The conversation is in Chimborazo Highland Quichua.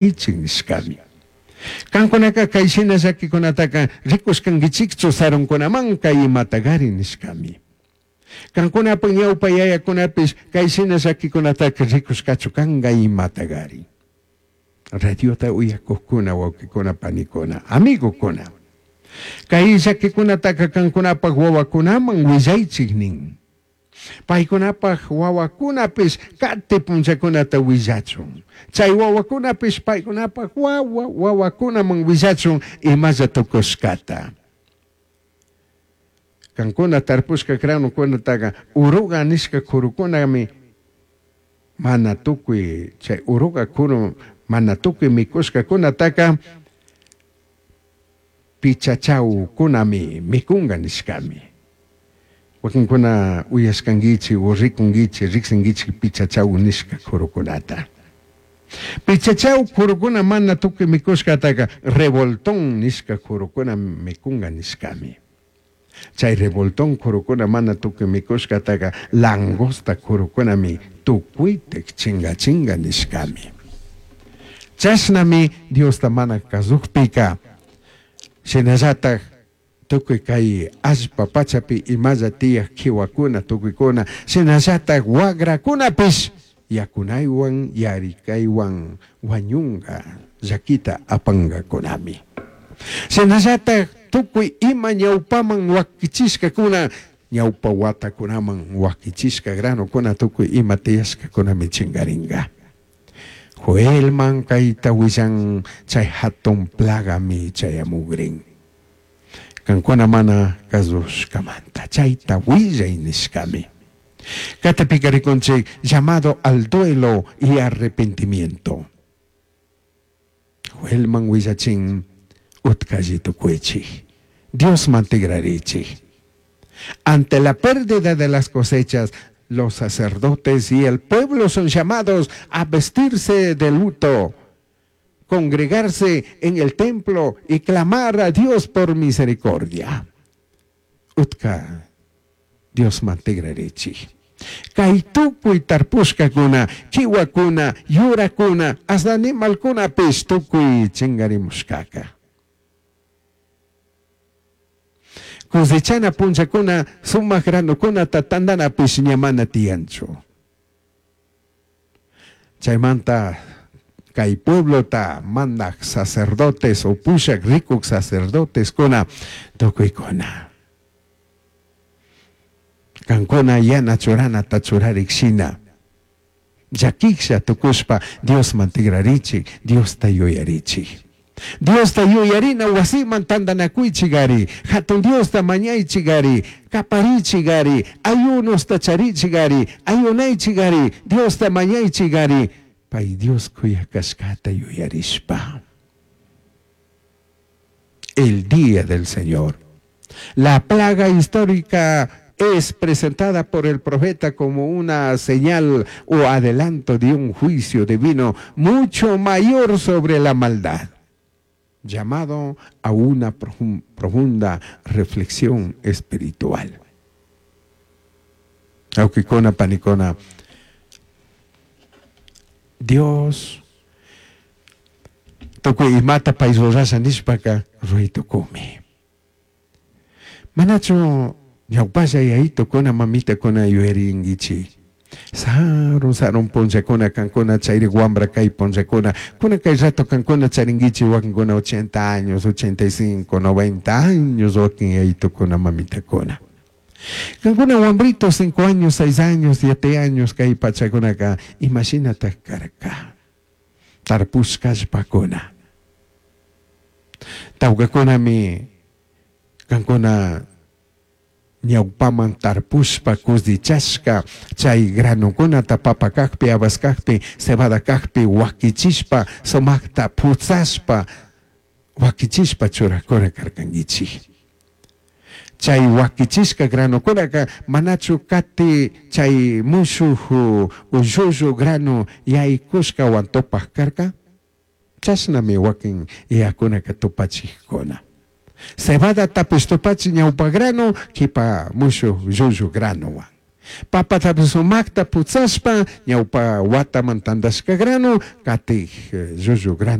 Ichik nishkami. Kankunaka kay shina llakikunataka rikushkankichikchu sarunkunamanka imatagari nishkami. Kankunapak ñawpa yayakunapish kay shina llakikunataka rikushkachu kanka imatagari. Radiota uyakukkuna, wawkikuna, panikuna, amigokuna. Kay llakikunataka kankunapak wawakunaman willaychik nin. Paicunapaj huahuacunapish cati punllacunata huillachun. Chai huahuacunapish paicunapaj huahua huahuacunaman huillachun imalla tucushcata. Cancuna tarpushca granocunataca uruga nishca curucunami mana tucui chai uruga curu mana tucui micushcacunataca pichachaucunami micunga nishcami. Wakinkuna uyashkankichik o rikunkichik, riksinkichik pichachaw nishka kurukunata. Pichachaw kurukuna mana tukuy mikushkataka revoltón nishka kurukuna mikunga nishkami. Chay revoltón kurukuna mana tukuy mikushkataka langosta kurukunami tukuytik chingachinga nishkami. Chashnami Diosta mana kazukpika shinallatak tukuy kay allpa pachapi imalla tiyaj kiwakuna tukuykuna shinallatak wagrakunapish yakunaywan yarikaywan wañunga llakita apangakunami. Shinallatak tukuy ima ñawpaman wakichishkakuna ñawpa watakunaman wakichishka granokuna tukuy ima tiyashkakunami chingaringa. Joelman kayta willan chay hatun plagami chayamugrin. Kankuna mana kasushkamanta chayta willay nishkami. Katipika rikunchik llamado al duelo y arrepentimiento. Joelman willachin utkalli tukuychik. Diosman tigrarichik. Ante la pérdida de las cosechas, los sacerdotes y el pueblo son llamados a vestirse de luto, congregarse en el templo y clamar a Dios por misericordia. Utka Diosman tigrarichik. Kay tukuy tarpushkakuna, kiwakuna, yurakuna, hasta animalkunapish tukuy chingarimushkaka. Cosechana punllakuna sumak granokunata tandanapish ña mana tiyanchu. Chaymanta kay pueblota mandak sacerdotes o pushak rikuk sacerdoteskuna tukuykuna. Kankuna yana churanata churarik shina. Llakiklla tukushpa Diosman tigrarichik, Diosta yuyarichik. Diosta yuyarina wasiman tantanakuychik hatun Diosta mañaychik ari, kaparichik ari, ayunosta charichik ari, ayunaychik ari, Diosta mañaychik ari, pay Dios kuyakashkata yuyarishpa. El día del Señor. La plaga histórica es presentada por el profeta como una señal o adelanto de un juicio divino mucho mayor sobre la maldad, llamado a una profunda reflexión espiritual. Wawkikuna, panikuna, Dios tukuy imata pay rurasha nishpaka ruray tukumi. Manachu ñawpalla yayitukuna mamitakuna yuyarinkichik. Sarun sarun punllakuna kankuna chayri wambra kay punllakuna kuna kay rato kankuna charinkichik wakinkuna 80 años, 85, 90 años wakin yayitukuna mamitakuna. Kankuna wambritos 5 años, 6 años, 7 años kay pachakunaka imashinatak karka. Tarpushkashpakuna. Tawkakunami kankuna ñawpaman tarpushpa cosechashka chay granokunata papa kakpi, habas kakpi, cebada kakpi wakichishpa sumakta putzashpa wakichishpa churakuna karkankichik. Chay wakichishka granokunaka manachu kati chay mushuk ullullu grano yaykushkawan tupaq karka? Chashnami wakin yakunaka tupachikkuna. Cebadatapish tupachi ñawpa grano kipa mushuk llullu granowan. Papatapish sumajta putsashpa ñaupa wataman tandashca grano, catij llullu grano.